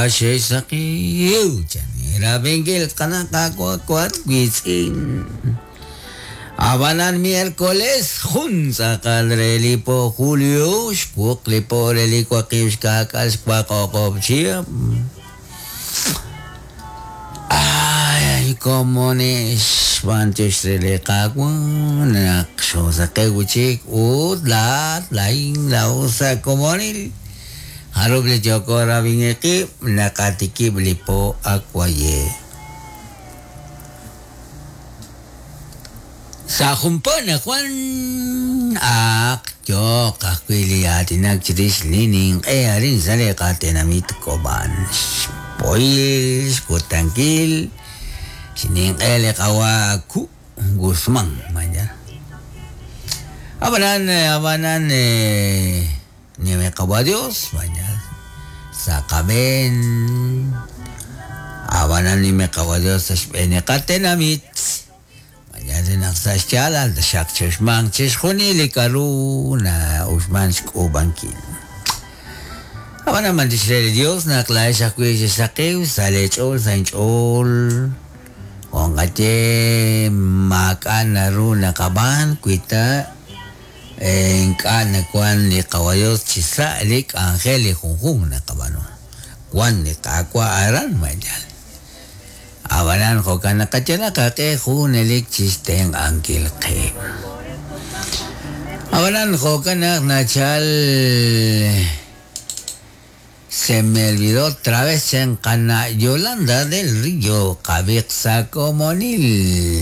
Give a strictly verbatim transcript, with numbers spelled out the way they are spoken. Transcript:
Xexsaqiw chanirabinkil qanaqawakwat wiitz'in. Abanan miércoles jun tz'aqal re li po julio xwuq li po re li waqib' xka'k'aal xwaqoqob' chihab'. Ay, komonix b'antiox re li Qaawa' naq xoosaqew wi'chik ut laat lain la'usa komonil jarub' li yooko rab'inqib' naqatikib' li po akwaye. Sa jumpo najuan aq yoq ajwi' li aatinak chirix li ninq'e arin sa' li qatenamit Kob'an. Xpohil xkutankil xninq'e li qawa Ku Guzmán mañana. Abanan abanan nime qawa Dios mañana. Sa qab'een abanan nime qawa Dios sa xb'een qatenamit. Mañana naq sa xyaalal xaq chixman chixjunil li k'aru na uxman xk'uub'ankil. Abanan b'antiox re li Dios naq la'ex ajwi' xexsaqiw sa' leech'ool sa' inch'ool. Onqaye maak'a' naru naqab'aan wi ta ink'a' nawan li qawa Dios chi sa' li k'anjel li junjun naqab'aanu. Wan li Qaawa' aran mañana. Abanan jo'kan naqayal qaq'e junelik chixtenq'ankil qe. Abanan jo'kan naq nachal se me olvidó otra vez chan qana Yolanda del Río qabiq sa komonil.